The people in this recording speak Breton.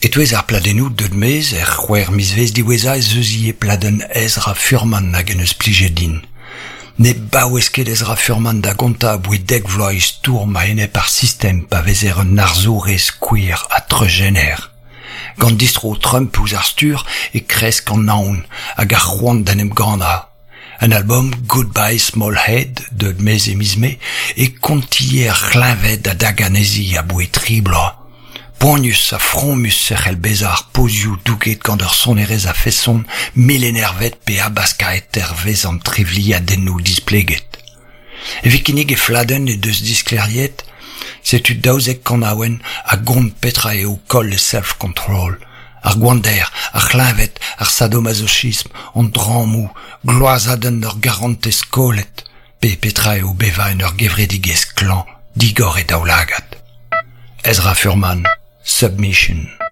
E-touez ar pladennoù deuet maez er c'hwec'h mizvezh diwezhañ ez eus ivez pladenn Ezra Furman hag en deus plijet din. Ne baouez ket Ezra Furman da gontañ aboe dek vloaz e stourm a-enep ar sistem pa vezer un arzourez queer ha treuzjener. Gant distro Trump ouzh ar stur e kresk an aon hag ar c'hoant d'en em gannañ. En albom Goodbye Small Head deuet maez e miz Mae e kontie ar c'hleñved a dag anezhi aboe tri bloaz. Poanius ha fromus e c'hell bezañ ar pozioù douget gant ur sonerezh a-feson melenervet pe habaskaet hervez an trivliadennoù displeget. Evit kinnig he fladenn he deus disklêriet setu 12 kanaouenn a gont petra eo koll e self-control, ar gwander, ar c'hleñved, ar sadomasochism, an drammoù, gloazadenn ur garantez kollet, pe petra eo bevañ en ur gevredigezh klañv digor he daoulagad. Ezra Furman, Submission.